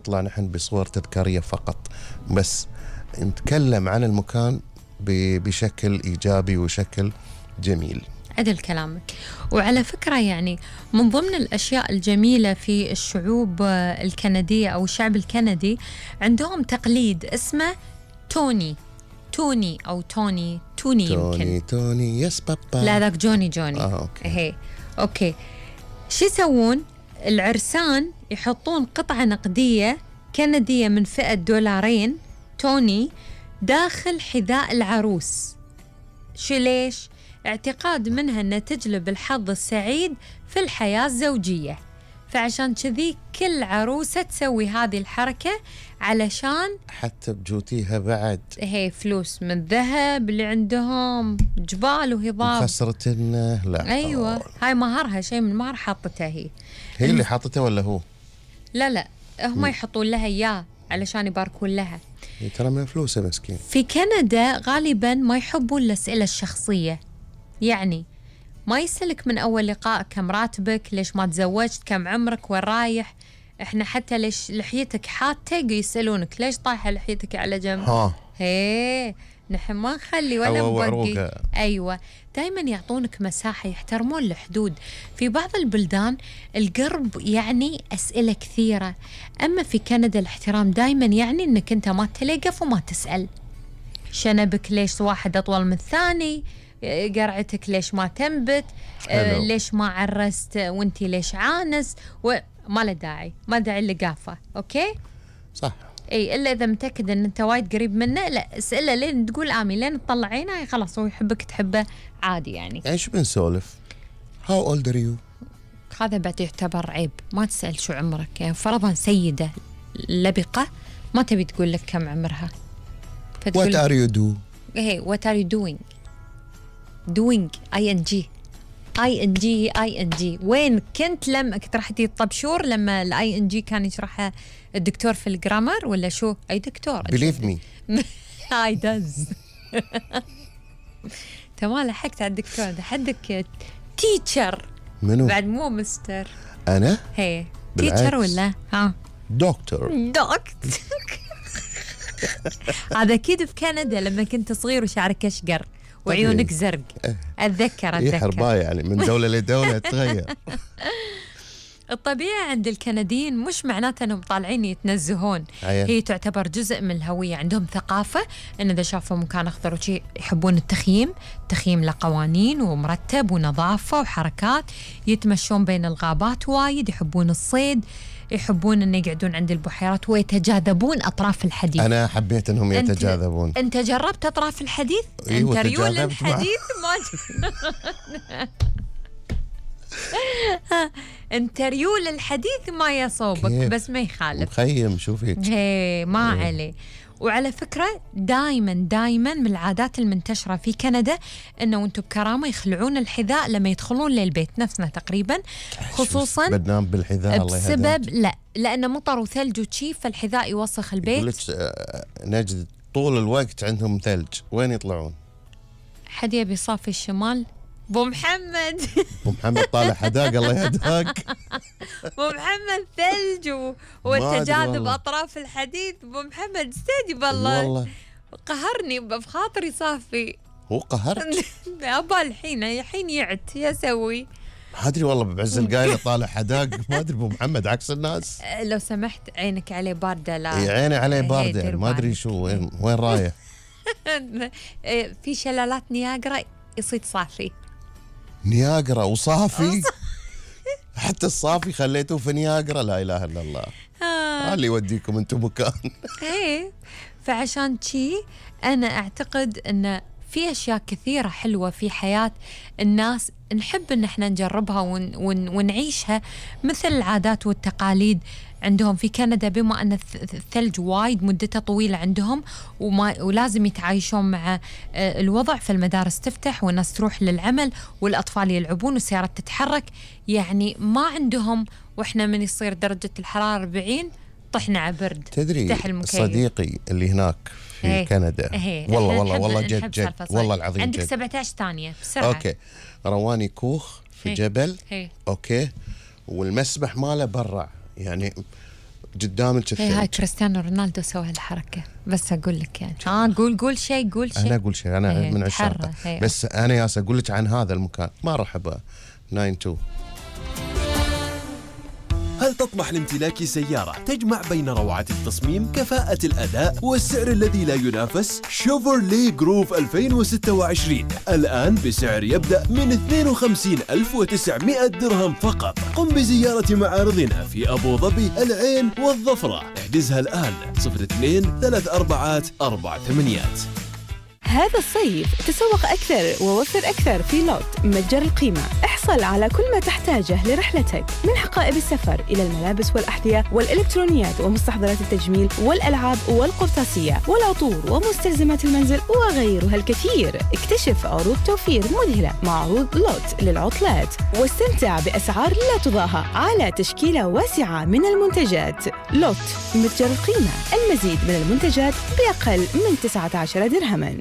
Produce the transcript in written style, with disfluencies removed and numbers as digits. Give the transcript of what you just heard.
نطلع نحن بصور تذكارية فقط، بس نتكلم عن المكان بشكل إيجابي وشكل جميل. عدل كلامك. وعلى فكرة يعني من ضمن الأشياء الجميلة في الشعوب الكندية أو الشعب الكندي عندهم تقليد اسمه توني أو توني يمكن. توني يس بابا. لا ذاك جوني. أوكي. هي أوكي. شو يسوون؟ العرسان يحطون قطعة نقدية كندية من فئة $2 توني داخل حذاء العروس. شو ليش؟ اعتقاد منها أنها تجلب الحظ السعيد في الحياة الزوجية، فعشان كذي كل عروسة تسوي هذه الحركة علشان حتى بجوتيها بعد هي فلوس من ذهب اللي عندهم جبال وهضاب خسرتنا. لا أيوة هاي مهرها، شيء من مهر حاطتها هي اللي حاطتها ولا هو؟ لا هم يحطون لها إياه علشان يباركون لها. ترى من فلوسه مسكين. في كندا غالبا ما يحبون الأسئلة الشخصية، يعني ما يسألك من أول لقاء كم راتبك، ليش ما تزوجت، كم عمرك، وين رايح. إحنا حتى ليش لحيتك حاتة يسألونك ليش طايحة لحيتك على جنب. هي نحن ما نخلي ولا نبقي. أيوة دايما يعطونك مساحة، يحترمون الحدود. في بعض البلدان القرب يعني أسئلة كثيرة، أما في كندا الاحترام دايما يعني أنك أنت ما تلقف وما تسأل. شنبك ليش واحد أطول من الثاني، قرعتك ليش ما تنبت، ليش ما عرست وانتي ليش عانس، وما له داعي، ما داعي اللقافة. أوكي صح. اي الا اذا متاكد ان انت وايد قريب منه لا اساله لين تقول امين، لين تطلع عينه خلاص هو يحبك تحبه عادي يعني. ايش بنسولف؟ هاو اولد ار يو؟ هذا بعد يعتبر عيب، ما تسال شو عمرك. يعني فرضا سيده لبقه ما تبي تقول لك كم عمرها، وات ار يو دو؟ هي وات ار يو دوينج ING. وين كنت لما كنت راح تجي الطبشور لما ING كان يشرحها الدكتور في الجرامر ولا شو؟ أي دكتور believe me I does. تمام لحقت على الدكتور ده، حدك تيتشر. منو؟ بعد مو مستر. أنا؟ هي تيتشر ولا دكتور. هذا أكيد في كندا لما كنت صغير وشعرك أشقر وعيونك زرق. أتذكر هي حرباية يعني من دولة لدولة تغير. الطبيعة عند الكنديين مش معناته أنهم طالعين يتنزهون، هي تعتبر جزء من الهوية. عندهم ثقافة أن إذا شافوا مكان أخضر وشي يحبون التخييم له قوانين ومرتب ونظافة وحركات، يتمشون بين الغابات وايد، يحبون الصيد، يحبون أن يقعدون عند البحيرات ويتجاذبون أطراف الحديث. أنا حبيت أنهم يتجاذبون. أنت جربت أطراف الحديث؟ أنت ريول الحديث انت ريول الحديث ما يصوبك بس ما يخالف. مخيم شوفي ما عليه. وعلى فكرة دايما من العادات المنتشرة في كندا انه وانتم بكرامة يخلعون الحذاء لما يدخلون للبيت، نفسنا تقريبا، خصوصا بدنام بالحذاء بسبب لأنه مطر وثلج وشي فالحذاء يوسخ البيت. نجد طول الوقت عندهم ثلج، وين يطلعون؟ حد يبي صافي الشمال؟ بو محمد طالع حداق الله يهداك. بو محمد ثلج والتجاذب أطراف الحديث. بو محمد استهدي بالله قهرني بخاطري صافي. هو قهرك؟ أبا الحين يعت يسوي ما أدري والله بعز القايلة طالع حداق ما أدري. بو محمد عكس الناس. لو سمحت عينك عليه باردة. لا عيني عليه باردة ما أدري شو وين رايح. في شلالات نياجرا يصيد صافي. نياجرا وصافي؟ حتى الصافي خليته في نياجرا؟ لا إله إلا الله. اللي يوديكم أنتم مكان. إيه فعشان شي أنا أعتقد أن في أشياء كثيرة حلوة في حياة الناس نحب أن احنا نجربها ونعيشها، مثل العادات والتقاليد عندهم في كندا. بما أن الثلج وايد مدته طويلة عندهم ولازم يتعايشون مع الوضع، فالمدارس تفتح والناس تروح للعمل والأطفال يلعبون والسيارات تتحرك، يعني ما عندهم وإحنا من يصير درجة الحرارة 40 طحنا على برد. تدري صديقي اللي هناك في كندا والله جد والله العظيم عندك جد. 17 ثانية بسرعة. أوكي رواني كوخ في جبل. أوكي والمسبح ماله برا، يعني قدامك الثلج. هاي كريستيانو رونالدو سوى هالحركة، بس أقول لك يعني قول شيء. أنا أقول شيء، أنا من عشاقه، بس أنا ياس أقول لك عن هذا المكان ما راح أبقى 92. هل تطمح لامتلاك سيارة تجمع بين روعة التصميم، كفاءة الأداء والسعر الذي لا ينافس؟ شيفروليه جروف 2026 الآن بسعر يبدأ من 52,900 درهم فقط. قم بزيارة معارضنا في أبو ظبي، العين والظفرة. احجزها الآن 02-34-48. هذا الصيف تسوق أكثر ووفر أكثر في لوت متجر القيمة. احصل على كل ما تحتاجه لرحلتك، من حقائب السفر إلى الملابس والأحذية والإلكترونيات ومستحضرات التجميل والألعاب والقرطاسية والعطور ومستلزمات المنزل وغيرها الكثير. اكتشف عروض توفير مذهلة مع عروض لوت للعطلات، واستمتع بأسعار لا تضاهى على تشكيلة واسعة من المنتجات. لوت متجر القيمة، المزيد من المنتجات بأقل من 19 درهما.